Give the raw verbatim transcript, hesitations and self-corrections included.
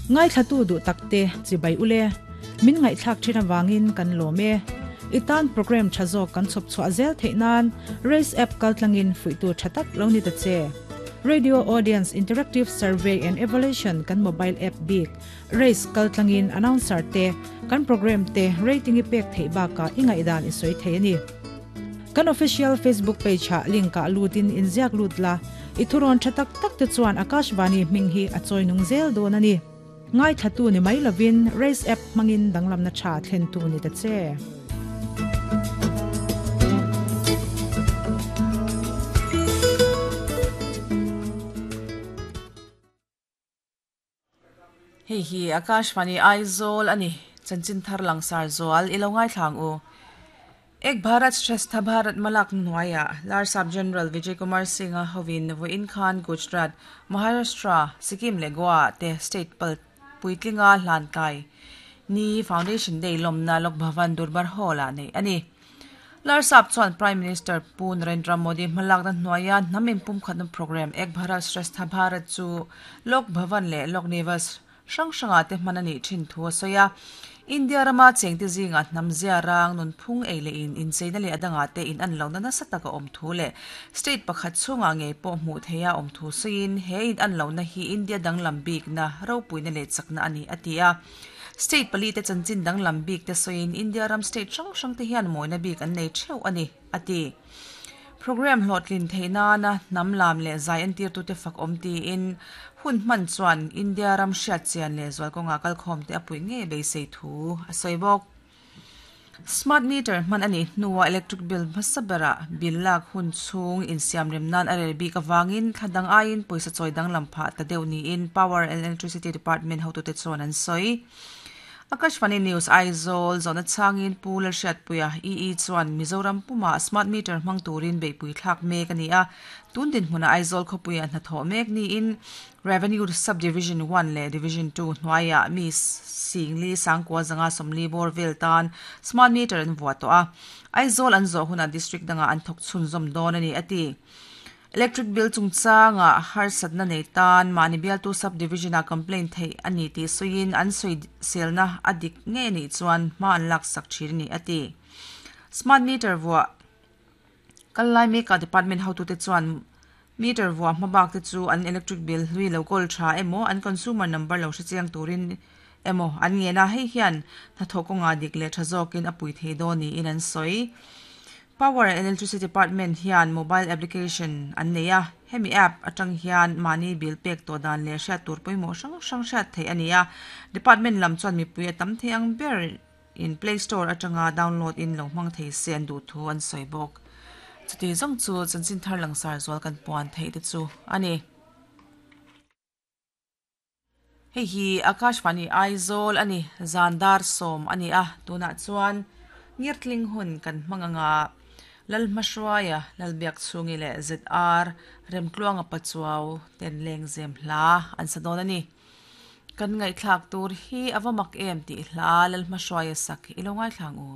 Ngai thlatu du takte chibai ule min ngai thlak thina wangin kan lome itan program thazo kan chop chwa zel theinan race app kaltlangin fuitu thatak loni ta che Radio Audience Interactive Survey and Evaluation kan mobile app big race kaltlangin announcer te kan program te rating ipek thei ba ka ingai dan isoi thei ani kan official Facebook page ha link ka lutin inziak lutla ithuron thatak tak te chuan Akashvani minghi achoi nung zel don ani ngai thatu ni mai lovin race app mangin danglam na tha thlen tu ni ta che. Hei hi Akashvani Aizawl ani chanchin thar langsar zual ilo ngai thlang u. Ek Bharat Shrestha Bharat Malak Nuaya Larsap General Vijay Kumar Singh hovin voin khan Gujarat Maharashtra Sikkim le Goa te state pal puitlinga hlan kai ni Foundation Day lomna Lok Bhavan Durbar Hall a nei ani. Larsap chuan Prime Minister Pu Narendra Modi malak na hnuaia namin pum khatna program Ek Bharat Shrestha Bharat chu Lok Bhavan le Lok Nivas sang sanga te manani thin thu soya India rama chengte zinga namzia rang nun phung eile in in cheina le adanga te in an lo na sataka om thu le state pakhat chunga nge po mu theya om thu sein he in an lo na hi India dang lambik na ropuina le chakna ani atia state pali te chanchin dang lambik te soin India ram state sang sang te hian moina bik an nei theu ani ati program hlotlin theina na namlam le zai an tir tu te fak om ti in hun man chuan India ram hriat chian le zual kawnga kal khawm te apui nge beisei thu a sawibawk. Smart meter man ani hnuwa electric bill hmasabera bill lak hun chhung insiam rem nan a rel bik awangin thladang aiin pawisa chawi dang lam phah ta deuh niin Power and Electricity Department hotu te chuan an sawi. Akashvani News Aizawl zona changin Pu Lalhriatpuia E E chuan Mizoram puma smart meter hmang turin beipui thlak mek ani a tun din hmuna Aizawl khawpuia hnathawh mek niin Revenue Subdivision one le Division two hnuaia mi singli sangkua zanga sawmli bawr vel tan smart meter an vuah tawh a Aizawl an zawh huna district danga an thawk chhun zawm dawn ani ati. Electric bill chungchanga harsatna nei tan mani bialtu subdivision a complaint thei ani ti suin an sui selna adik nge ni chuan ma an lak sak thir ni ati. Smart meter vua kalai me ka department how to te chuan meter vua mabak te chu an electric bill hlui lo kol tha emo an consumer number lo hrichiang turin emo an nge na hei hian na thokonga dik le thazokin apui thei do ni in an soi. Power and Electricity Department hian mobile application an neia hemi app atang hian mani bill pek to dan le hriat tur pawimawh hrang hrang hriat thei ani a department lam chuan mipui a tam thei ang ber in Play Store atanga download in lo hmang thei se an duh thu an sawi bawk. Chuti zawng chu chanchin thar langsar zual kan puan thei te chu ani. Hei hi Akashvani Aizawl ani zandar sawm ani a tunah chuan ngirtling hun kan hmanganga Lalhmahruaia Lalbiak chhungi le Z R Remtluanga Pachuau ten leng zem hla an sa dawn ani. Kan ngai thlak tur hi awa mak em ti hla Lalhmahruaia sak ilo ngai thlang u.